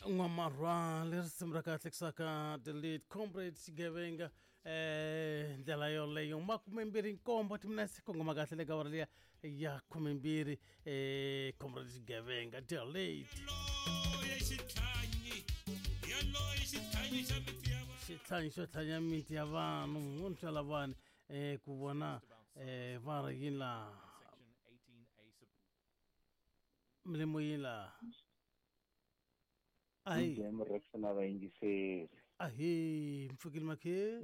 N'wamarhwale risimu ra kahle kusaka the lead comrade xigevenga ndlela yoleyo 27 timinetse kongoma kahle le ka awara liya ya 12 comrade xigevenga the lead xitlhanyi xo tlhanya miti ya vanhu munhu swa lavani ku vona va ri yini laha milimo yini laha ahi Jam Rex na vayingiseri ahi mpfukile makhe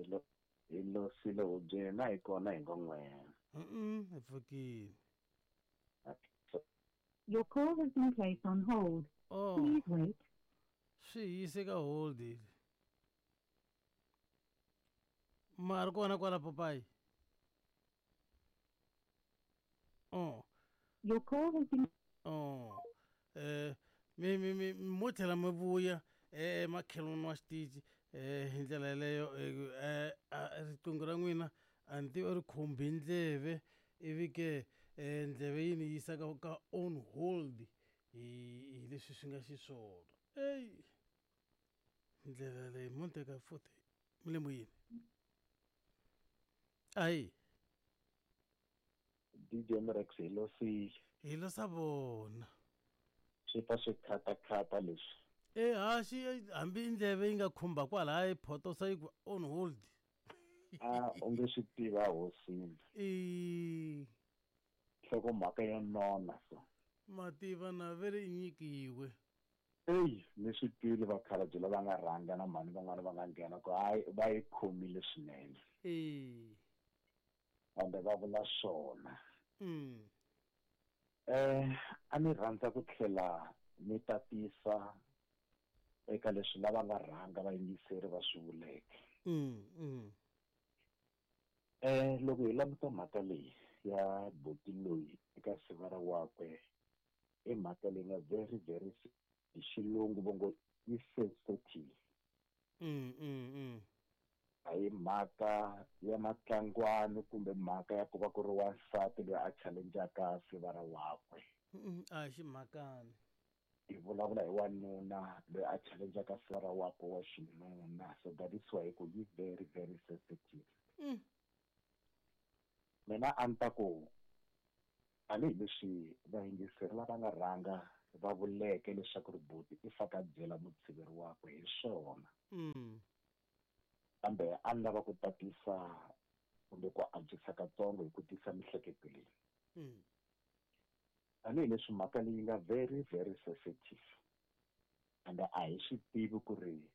hi lo sile hubyeni na hi kona hi ngo n'wena hi pfukile. Your call has been placed on hold. Oh. Please wait. Swi yise ka hold ma ri kona kwala papayi. Oh. Your call has been Oh. Mi mi mi mo tlhela mi vuya makhelwani wa xitichi hi ndlela yeleyo riqingho ra n'wina a ni tivi ri khumbi ndleve ivi ke ndleve yi ni yisa ka on hold hi leswi swi nga xiswona. Ey ndlela leyi mo ni teka futhi mi le moyeni. Ahi DJ Rex hi lo sile. Hi lo sa vona. Swi ta swi khatakhata leswi. Ha xi hambi ndleve yi nga khumba kwalaya yi photosa yi ku on hold. A u nge swi tiva hosini. Nhlokomhaka yo nona so. Mativa na ve ri nyikiwe. Eyi ni swi twile vakhalabye lava nga rhanga na mhani van'wana va nga nghena ku hayi va yi khomile swinene. Kambe va vula swona. A ni rhandza ku tlhela ni tatisa eka leswi lava nga rhanga vayingiseri va swi vuleke. Loko hi languta mhaka leyi ya buti loyi eka sivara wakwe i mhaka leyi nga very very hi xilungu va ngo i sensitive. A hi mhaka ya matlangwani kumbe mhaka ya ku va ku ri wansati loyi a challenge-aka sivara wakwe. A hi ximhakani. Hi vulavula hi wanuna loyi a challenge-aka sivara wakwe wa xinuna, so that is why ku yi very very sensitive. Mina a ni ta ku tanihileswi vayingiseri lava nga rhanga va vuleke leswaku ri buti i faka byela mutshiveri wakwe hi swona. Kambe a ni lava ku tatisa kumbe ku antswisa katsongo hi ku tisa mihleketo leyi. Tanihileswi mhaka leyi nga very very sensitive and a hi swi tivi ku ri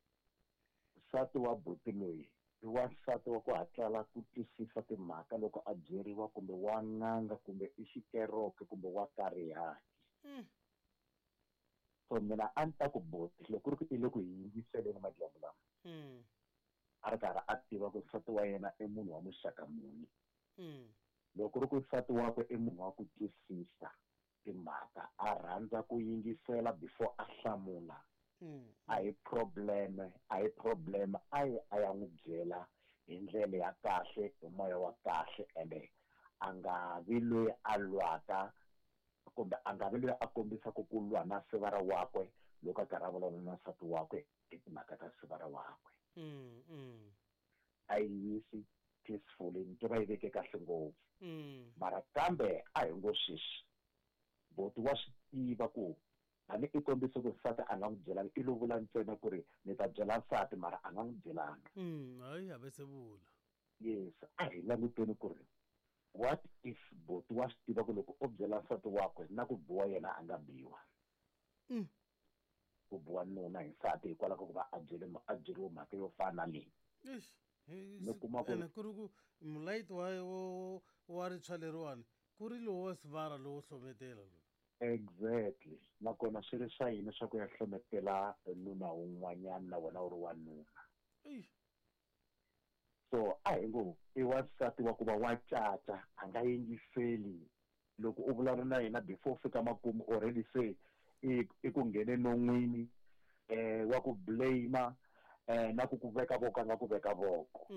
nsati wa buti loyi i wansati wa ku hatlala ku twisisa timhaka loko a byeriwa kumbe wa n'anga kumbe i xikeroke kumbe wa karihaki. So mina a ni ta ku buti loko ku ri ku i le ku hi yingiseleni madyambu lama a ri karhi a tiva ku nsati wa yena i munhu wa muxaka muni. Loko ku ri ku nsati wakwe i munhu wa ku twisisa timhaka a rhandza ku yingisela before a hlamula a hi problem a hi problem a yi a ya n'wi byela hi ndlela ya kahle hi moya wa kahle ende a nga vi loyi a lwaka kumbe a nga vi loyi a kombisaka ku lwa na sivara wakwe loko a karhi a vulavula na nsati wakwe hi timhaka ta sivara wakwe. A yi yisi peacefully ni tiva yi veke kahle ngopfu. Mara kambe a hi ngo sweswi buti wa swi tiva ku hambi i kombise ku nsati a nga n'wi byelanga i lo vula ntsena ku ri ni ta byela nsati mara a nga n'wi byelanga. Hayi a ve se vula. Yes, a hi languteni ku ri what if buti wa swi tiva ku loko o byela nsati wakwe na ku biwa yena a nga biwa. Ku biwa nuna hi nsati hikwalaho ka ku va a byele a byeriwe mhaka yo fana na leyi. Eish. Ni kuma ku Ene ku ri ku mulayiti wa wa ritshwa leriwani ku ri lowo wa sivara lowo hlometela lowu. Exactly. Nakona swi ri swa yini swa ku ya hlometela nuna wun'wanyana na wena u ri wanuna. Eish. So a hi ngo i wansati wa ku va wa caca a nga yingiseli loko u vulavula na yena before u fika makumu already se i ku nghene non'wini wa ku blame na ku ku veka voko a nga ku veka voko.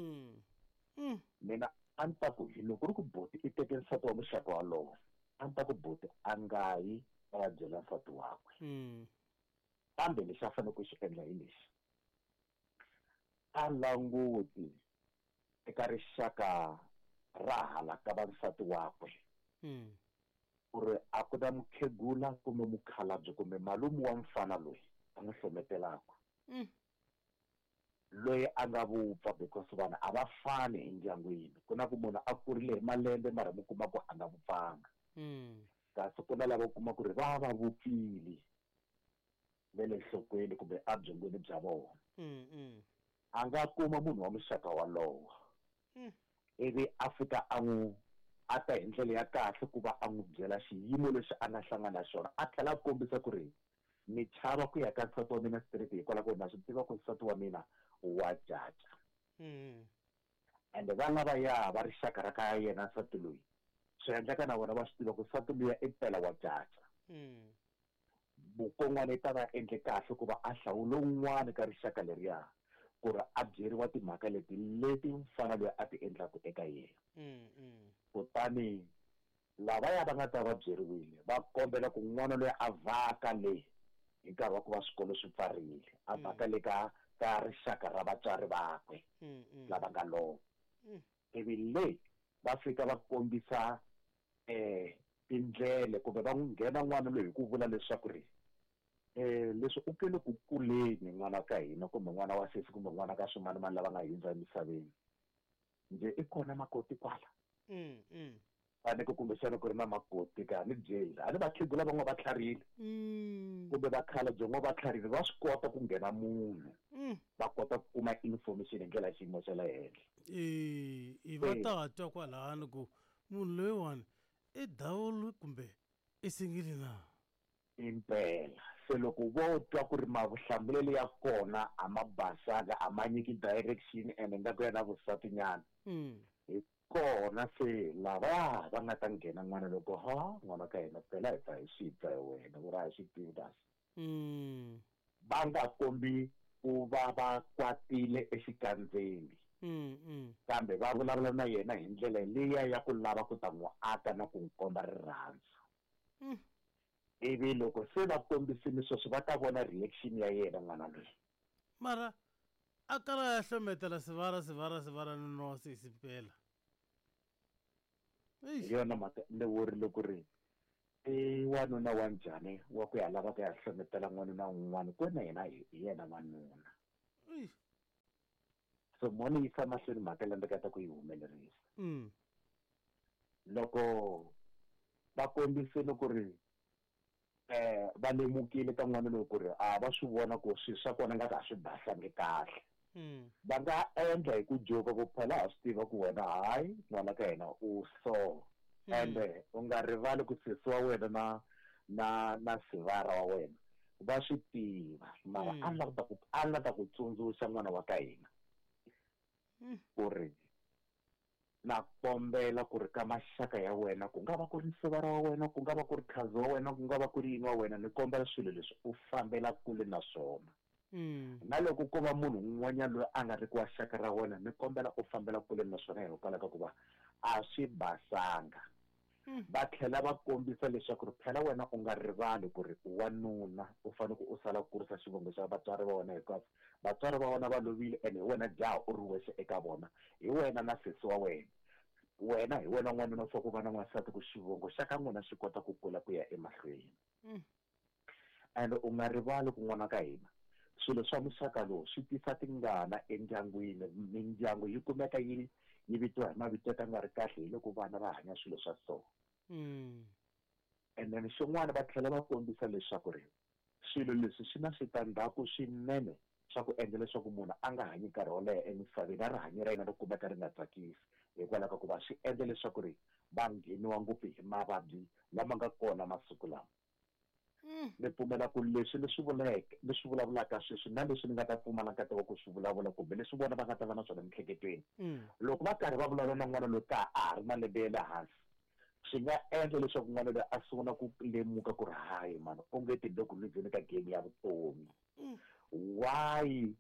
Mina a ni ta ku hi loko ku ri ku buti i teke nsati wa muxaka walowo a ni ta ku buti a nga yi a ya byela nsati wakwe. Kambe lexi a fanele ku xi endla hi lexi, a languti eka rixaka ra hala ka va nsati wakwe ku ri a ku na mukhegula kumbe mukhalabye kumbe malume wa mfana loyi a n'wi hlometelaka loyi a nga vupfa, because vanhu a va fani endyangwini. Ku na ku munhu a kurile hi malembe mara mi kuma ku a nga vupfanga, kasi ku na lava u kuma ku ri va va vupfile ve le nhlokweni kumbe ebyongweni bya vona. A nga kuma munhu wa muxaka walowo ivi a fika a n'wi a ta hi ndlela ya kahle ku va a n'wi byela xiyimo lexi a nga hlangana na xona, a tlhela a kombisa ku ri ni chava ku ya ka nsati wa mina straight hikwalaho ku na swi tiva ku nsati wa mina wa caca. Ende va lavaya va rixaka ra ka yena nsati loyi, swi endleka na vona va swi tiva ku nsati luya i pela wa caca. Mukon'wana i ta va endle kahle ku va a hlawula un'wana ka rixaka leriya ku ri a byeriwa timhaka leti leti mfana loyi a ti endlaka eka yena. Kutani lavaya va nga ta va byeriwile va kombela ku n'wana loyi a vhaka le hi nkarhi wa ku va swikolo swi pfarile, a vhaka le ka rixaka ra vatswari vakwe lava nga lova. Ivi le va fika va kombisa tindlele kumbe va n'wi nghena n'wana loyi hi ku vula leswaku ri leswi u ke le ku kuleni n'wana ka hina kumbe n'wana wa sesi kumbe n'wana ka swimanimani lava nga hundza emisaveni, njhe i kona makoti kwala. Faneke kumbexana ku ri na makoti ka ni byeli a ni vakhegula van'wana va tlharile kumbe vakhalabye van'wana va tlharile, va swi kota ku nghena munhu va kota ku kuma information hi ndlela ya xiyimo xa le henhla. I va ta twa kwalano ku munhu loyiwani i dawulu kumbe i singile na? Impela. Se loko vo twa ku ri mavuhlamulelo ya kona a ma basanga, a ma nyiki direction ene nga ku ya na vusatinyana, hi kona se lava va nga ta nghena n'wana loko ha n'wana ka hina phela hi ta hi swi twa hi wena ku ri a hi swi tivi kasi. Va nga kombi ku va va kwatile exikandzeni, kambe va vulavula na yena hi ndlela liya ya ku lava ku ta n'wi aka na ku n'wi komba rirhandzu. Ivi loko se va kombisile sweswo va ta vona reaction ya yena n'wana loyi. Mara a kala ya hlometela sivara sivara sivara ni nwa sesi mpela. Hi yona mhaka ni vurile ku ri i wanuna wa njhani wa ku ya lava ku ya hlometela n'wanuna un'wana ku na yena hi yena n'wanuna. So mo ni yisa mahlweni mhaka leyi ndzi nga ta ku yi humelerisa. Loko va kombisile ku ri va lemukile ka n'wana loyi ku ri a va swi vona ku swilo swa kona nga ka swi basangi kahle, va nga endla hi ku joka ku phela ha swi tiva ku wena hayi n'wana ka yena u so, ende u nga rivali ku sesi wa wena na sivara wa wena va swi tiva, mara a lava ku tsundzuxa n'wana wa ka hina ku ri na kombela ku ri ka maxaka ya wena, ku nga va ku ri sivara wa wena, ku nga va ku ri khazi wa wena, ku nga va ku ri yini wa wena, ni kombela swilo leswi u fambela kule na swona. Na loko ko va munhu un'wanyana loyi a nga ri ku wa xaka ra wena, ni kombela u fambela kule na swona hikwalaho ka ku va a swi basanga. Va tlhela va kombisa leswaku ri phela wena u nga rivali ku ri wanuna u fanele ku u sala ku kurisa xivongo xa vatswari va wena, hikuva vatswari va wena va lovile ene hi wena jaha u ri wexe eka vona, hi wena na sesi wa wena, wena hi wena n'wanuna u fanele ku va na n'wansati ku xivongo xa ka n'wina xi kota ku kula ku ya emahlweni. And u nga rivali ku n'wana ka hina swilo swa muxaka lowu swi tisa tingana endyangwini, mindyangu yi kumeka yi vitiwa hi mavito ya ka nga ri kahle hi loko vana va hanya swilo swa so. And then xin'wana va tlhela va kombisa leswaku ri swilo leswi swi na switandzhaku swinene swa ku endla leswaku munhu a nga hanyi nkarhi wo leha emisaveni, na rihanyo ra yena ri kumeka ri nga tsakisi hikwalaho ka ku va swi endla leswaku ri va ngheniwa ngopfu hi mavabyi lama nga kona masiku lawa. Ni pfumela ku leswi ni swi vuleke, ni swi vulavulaka sweswi na leswi ni nga ta pfumala nkateko wa ku swi vulavula kumbe leswi vona va nga ta va na swona emiehleketweni, loko va karhi va vulavula na n'wana loyi ka a ha ri malembe ya le hansi, swi nga endla leswaku n'wana loyi a sungula ku lemuka ku ri hayi mani, onge ti le ku luzeni ka game ya vutomi. Why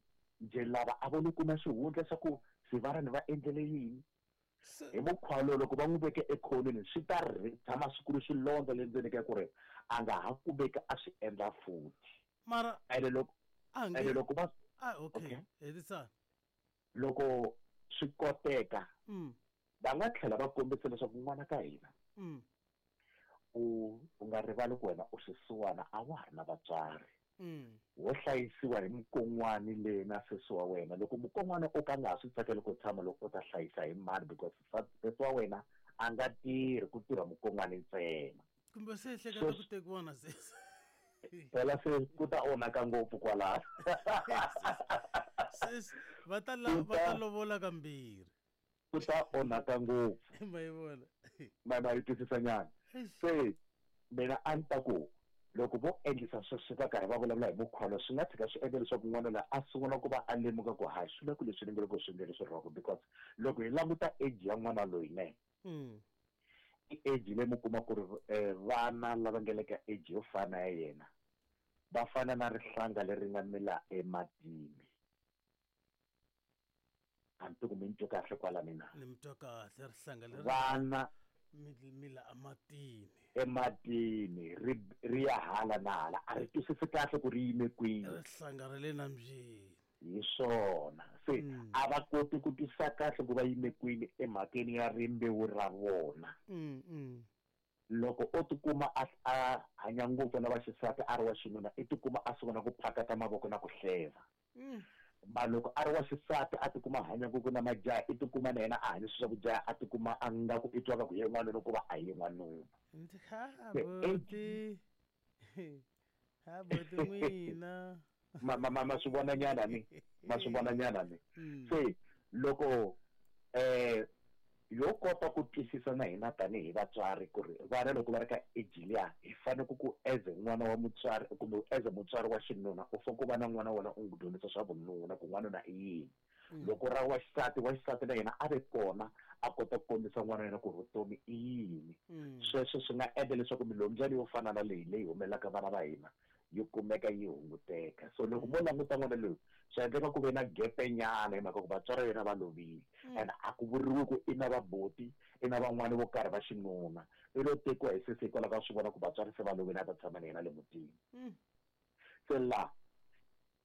nje lava a vo ni kuma xihundla xa ku sivarani va endlele yini? Hi mukhuva lowu loko va n'wi veke ekhonweni swi ta ri tshama swi kulu swilondza le ndzeni ka ku ri a nga ha kumeki a swi endla futhi. Mara ene loko a ene nge loko va a okay Okay. hetisana. Loko swi koteka, va nga tlhela va kombisa leswaku n'wana ka hina, u nga rivali ku wena u xisiwana, a wa ha ri na vatswari, wo hlayisiwa hi mukon'wani le na sesi wa wena. Loko mukon'wana o ka nga ha swi tsakeli ku tshama, loko u ta hlayisa hi mani? Because sesi wa wena a nga tirhi, ku tirha mukon'wani ntsena. Kumbe se ehleketa ku tekiwa na sesi. Phela se ku ta onhaka ngopfu kwalaho. Sesi va ta la va ta lovola kambirhi. Ku ta onhaka ngopfu. Ma yi vona. Ma yi twisisa nyana. Se mina a ni ta ku loko vo endlisa sweswo, va karhi va vulavula hi mukhuva lowu, swi nga tshika swi endla leswaku n'wana loyi a sungula ku va a lemuka ku hayi, swi le ku leswi ni nge le ku swi endleni swi wrong, because loko hi languta age ya n'wana loyi ne, i age leyi mi kuma ku ri vana lava nga le ka age yo fana ya yena va fana na rihlanga leri nga mila ematini. A ni tivi ku mi ni twe kahle kwala mina. Ni mi twa kahle, rihlanga leri vana mila ematini. Ematini ri ya hala na hala, a ri twisisi kahle ku ri yime kwini. Rihlanga ra le nambyeni. Hi swona. Se a va koti ku twisisa kahle ku va yime kwini emhakeni ya rimbewu ra vona. Loko o tikuma a hanya ngopfu na vaxisati a ri wa xinuna, i tikuma a sungula ku phakata mavoko na ku hleva. Ma loko a ri wa xisati a tikuma a hanya ngopfu na majaha, i tikuma na yena a hanya swilo swa ku jaha, a tikuma a nga ku i twa nga ku ye n'wanuna ku va a ye n'wanuna. Ndzi ha buti. Ha buti n'wina. Ma swi vona nyana ni? Ma swi vona nyana ni? Se loko yo kota ku twisisa na hina tanihi vatswari ku ri vana loko va ri ka age liya, hi fanele ku as n'wana wa mutswari kumbe as mutswari wa xinuna, u fanele ku va na n'wana wa wena u n'wi dyondzisa swa vununa, ku n'wanuna i yini. Loko ra wa xisati, wa xisati na yena a ve kona a kota ku kombisa n'wana wa yena ku vutomi i yini. Sweswo swi nga endla leswaku milombyana yo fana na leyi leyi humelelaka vana va hina yi kumeka yi hunguteka. So loko mo languta n'wana loyi, swi endleka ku ve na gepe nyana hi mhaka ku vatswari va yena va lovile, and a ku vuriwi ku i na vaboti, i na van'wani vo karhi va xinuna, i lo tekiwa hi sesi hikwalaho ka swi vona ku vatswari se va lovile, a ta tshama na yena le mutini. Se la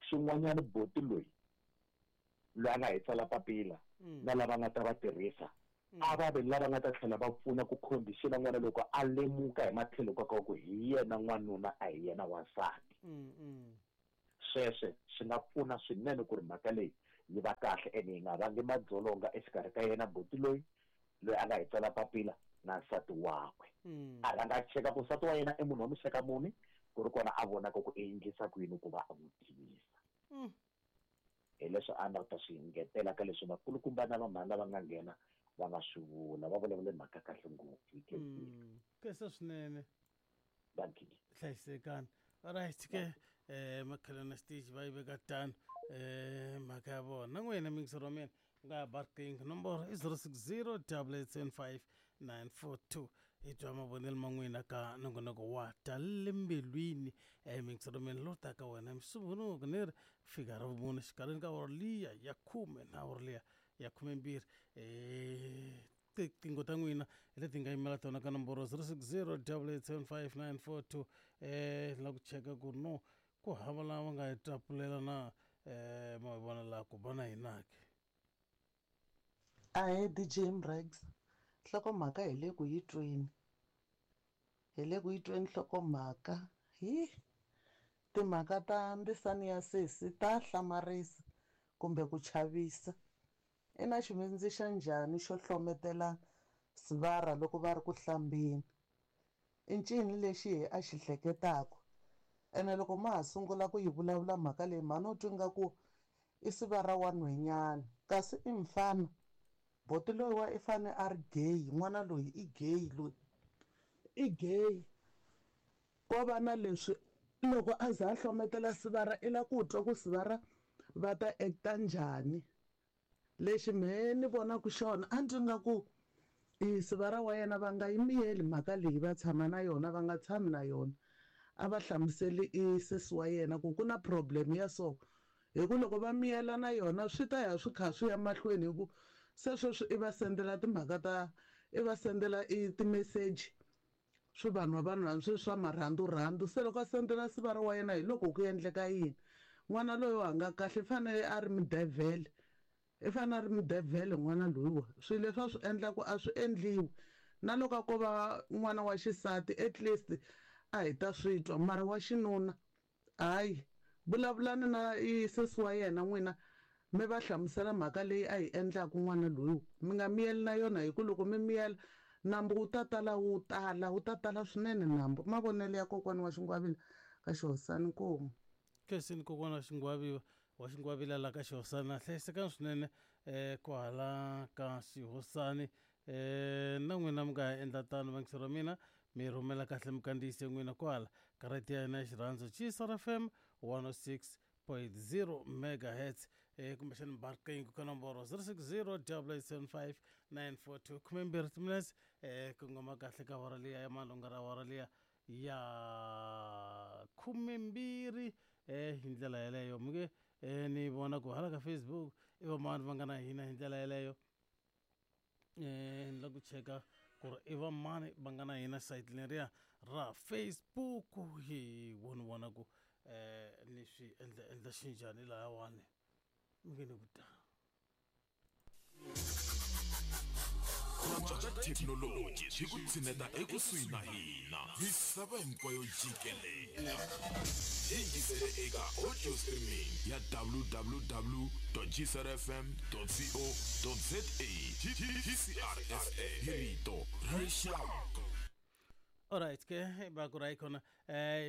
xin'wanyana, boti loyi loyi a nga hi tsala papila na lava nga ta va tirhisa, a va ve lava nga ta tlhela va pfuna ku condition n'wana loko a lemuka hi matlhelo ka ku hi yena n'wanuna, a hi yena wansati. Sweswe swi nga pfuna swinene ku ri mhaka leyi yi va kahle, ene yi nga vangi madzolonga exikarhi ka yena boti loyi loyi a nga hi tsala papila na nsati wakwe. A rhanga a cheka ku nsati wa yena i munhu wa muxaka muni, ku ri kona a vonaka ku i endlisa ku yini ku va a n'wi tivisa. Hi leswi a nga ta swi ngetela ka leswi vakulukumba na vamhani lava nga nghena va nga swi vula. Va vulavule mhaka kahle ngopfu, yi khensile. Khensa swinene. Dankie. Hlayisekani. Alright ke, makhelwani stage va yi veka tano mhaka ya vona. Na n'wina mingisero wa mina nga ba riqingho, nomboro i 060 875 942, hi twa mavonelo ma n'wina ka nongonoko wa Ta le mbilwini. Mingisero wa mina lowu taka wena Musumbhunuku ni ri fika ra vumune xikarhini ka awara liya ya 10 na awara liya ya 12. Tiqingho ta n'wina hi leti nga yimela tona ka nomboro 060 875 942. La ku cheka ku no ku hava lava nga hi tapulela na ma vona laha ku ba na hina ke. Ahee DJ Mrex, nhlokomhaka hi le ku yi tweni, hi le ku yi tweni nhlokomhaka. Hi timhaka ta ndzisani ya sesi ta hlamarisa kumbe ku chavisa. I na xivindzi xa njhani xo hlometela sivara loko va ri ku hlambeni? I ncini lexi hi a xi hleketaka? Ene loko ma ha sungula ku yi vulavula mhaka leyi, mhani u twi nga ku i sivara wa nhwenyana, kasi i mfana. Boti loyi wa i fane a ri gay, n'wana loyi i gay, loyi i gay. Ko va na leswi loko a za a hlometela sivara, i la ku twa ku sivara va ta acta njhani. Lexi mehe ni vonaka xona, a ndzi nga ku i sivara wa yena va nga yi miyeli mhaka leyi, va tshama na yona, va nga tshami na yona. A va hlamuseli i sesi wa yena ku ku na problem ya so, hi ku loko va miyela na yona swi ta ya swi kha swi ya mahlweni, hi ku se sweswi i va sendela timhaka ta, i va sendela i ti-message. Swi vanhu va vanhu lava sweswi swa marhandu-rhandu. Se loko a sendela sivara wa yena hi loko ku endleka yini? N'wana loyi a nga kahle i fanele a ri mudevhele. I fanele a ri mudevhele n'wana loyiwa. Swilo leswi a swi endlaku a swi endliwi. Na loko a ko va n'wana wa xisati at least a hi ta swi twa mara wa xinuna hayi. Vulavulani na sesi wa yena n'wina mi va hlamusela mhaka leyi a yi endlaku n'wana loyiwa. Mi nga miyeli na yona hi ku loko mi miyela nambu wu ta tala wu tala, wu ta tala swinene nambu. I mavonelo ya kokwani wa Xingwavila ka Xihosana. Inkomu. Khensini kokwana wa Xingwavila wa Xingwavila la ka Xihosana. Hlayisekani swinene kwahala ka Xihosani. Na n'wina mi nga ha endla tano vayingiseri va mina, mi rhumela kahle mikandziyiso ya n'wina kwala ka radiyo ya hina ya xirhandzu Tshisa FM 106.0 megahertz kumbexani mi ba riqingho ka nomboro 060 875 942 12 timinetse kongoma kahle ka awara liya ya malunga ra awara liya ya 12 hi ndlela yeleyo mi nge ni vona ku hala ka Facebook i vamani va nga na hina hi ndlela yeleyo. Ni la ku cheka ku ri i vamani va nga na hina sayiti leriya ra Facebook hi voni vona ku ni swi endla endla xinjhani lahawani mi nge ni ku ta. Ku antswa ka thekinoloji swi ku tshineta ekusuhi na hina misava hinkwayo jikelele. Hi yingisele eka audio streaming ya www.gcrfm.co.za GCRFM hi rito ra rixaka. Alright ke va ku ra khona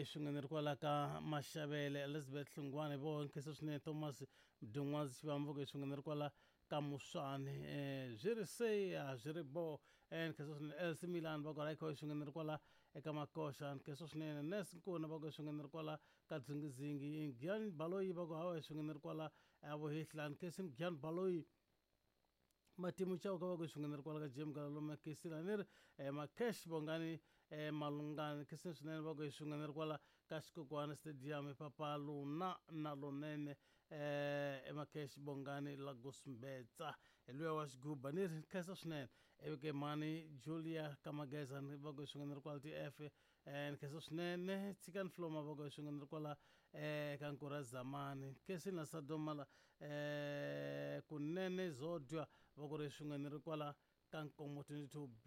swin'we ni ri kwala ka Maxavele Elizabeth Hlungwane vo nkhensa swinene Thomas Mdungwazi Xivamvuko swin'we ni ri kwala ka Muswani swi ri se a swi ri bo nkhensa swinene Elsie Milan va ku ra kho swin'we ni ri kwala eka Makoxa nkhensa swinene Nes Nkuna va ku swin'we ni ri kwala ka Dzingizingi Gyan Baloyi va ku hawa swin'we ni ri kwala Vuhihla nkhensa Gyan Baloyi Matimu Chauka va ku swin'we ni ri kwala ka Jim Galaluma Kesila ni ri Makesh Bongani Malungani nkhensa swinene va ku swin'we ni ri kwala ka Xikokwana Stadium Papa Luna na Lunene Makesh Bongani Lagos Mbetsa hi luya wa xiguba ni ri nkhensa swinene ivi ke mhani Julia Kamageza va ku swin'we ni ri kwala TF nkhensa swinene Tshikani Floma va ku swin'we ni ri kwala ka Nkura Zamani Nkensini la Sadomala Kunene Zodwa va ku ri swin'we ni ri kwala ka Nkomo 22B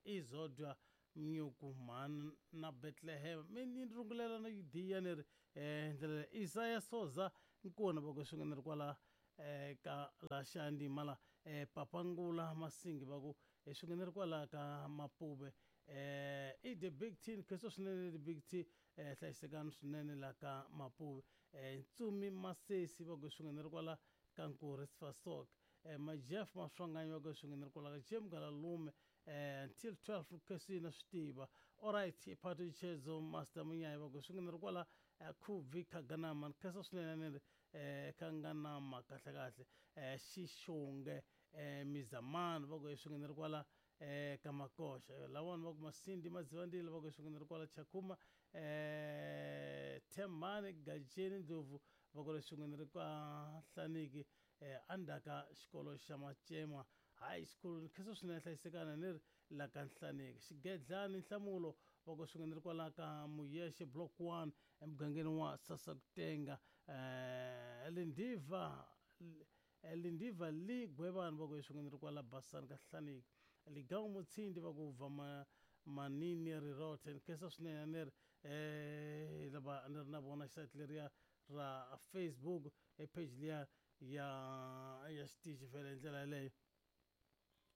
i Zodwa Mnyuku mhani na Bethlehem mi ni rungulela na Yudiya ni ri ndlela Isaya Soza Nkuna va ku swin'we ni ri kwala ka la Xandima la Papangula Masingi va ku swin'we ni ri kwala ka Mapuve i the big T nkhensa swinene the big T hlayisekani swinene la ka Mapuve Ntsumi Masesi va ku swin'we ni ri kwala ka Nkuri Sfasok Majeff Maswanganyi va ku swin'we ni ri kwala ka Jim Galalume until 12 khesina swi tiva alright Phato Chezo Master Munyayi va ku swin'we ni ri kwala Khubvi Khaganama nkhensa swinene ni ri Khanganama kahle kahle Xixonge Mizamani va ku swin'we ni ri kwala ka Makoxa lawani va ku Masindi Madzivandile va ku swin'we ni ri kwala Chakhuma Thembani Gajeni Ndlovu va ku ri swin'we ni ri kwa Hlaniki endzhaka xikolo xa Macema High School nkhensa swinene hlayisekana ni ri la ka Nhlaniki Xigedlani Nhlamulo va ku swin'we ni ri kwala ka Muyexe Block 1 emugangeni wa Sasakutenga Lindiva Lindiva Li Gwevani va ku swin'we ni ri kwala Basani ka Hlaniki Ligawu Mutshindi va ku bva Manini Rirothe nkhensa swinene ni ri lava ni ri na vona xisati leriya ra Facebook e page liya ya ya xitichi vhele hi ndlela yeleyo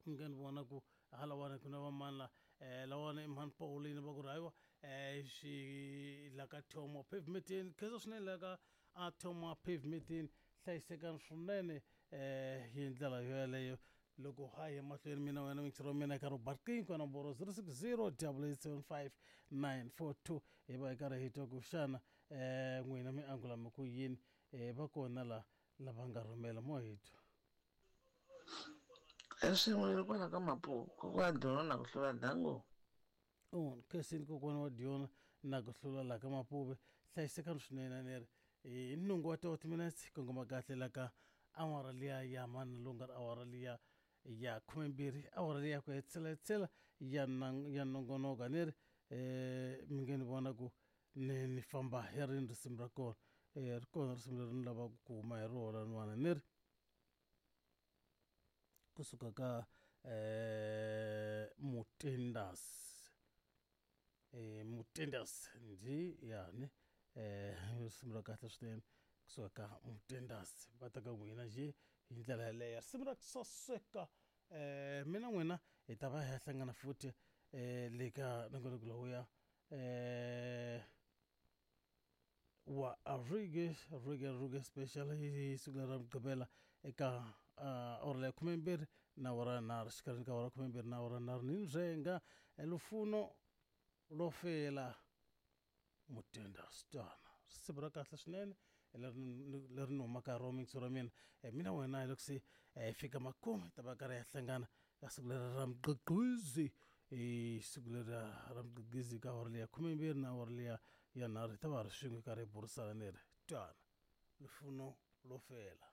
mi nga ni vona ku halawani ku na vamani la lawani i mhani Pauline va ku ri hayiwa swi la ka Thomo pavementeni khensa swinene la ka a Thomo pavementeni hlayisekani swinene hi ndlela yo yeleyo loko ha ya mahlweni mina wena mixero wa mina ka Robert King ka nomboro 060 875 942 hi va hi karhi hi twa ku xana n'wina mi angula mi ku yini va kona la lava nga rhumela mo hi twa. Swin'we kwala ka Mapuku kokwana Diona na ku hlula dango. Khensini kokwana wa Diona na ku hlula la ka Mapuve hlayisekani swinene ni ri hi nhungu wa 30 minutes kongoma kahle la ka awara liya ya mani lunga awara liya ya 12 awara liya ku hetisela hetisela ya ya nongonoko ni ri Mi nge ni vona ku ni ni famba hi rini risimu ra kona. Ri kona risimu leri ni lavaka ku huma hi rona laniwani ni ri kusuka ka Mutendas. Mutendas ndzi yani risimu ra kahle swinene kusuka ka Mutendas va ta ka n'wina njhe hi ndlela yaleyo risimu ra ku saseka. Mina n'wina hi ta va hi ya hlangana futhi le ka nongonoko lowuya wa Reggae Reggae Reggae Special hi siku leri ra Mugqivela eka awara leya khumembirhi na awara nharhu xikarhini ka awara khumembirhi na awara nharhu ni ndzhenga lufuno lo fela mutenda switwana risimu ra kahle swinene leri leri ni humaka ro mixo ra mina. Mina wena hi loko se hi fika makumu hi ta va karhi ya hlangana ka siku leri ra mugqigqizi hi siku leri ra mugqigqizi ka awara leya khumembirhi na awara leya ya nharhu hi ta va ri swin'we karhi hi burisana ni ri twana lufuno lo fela.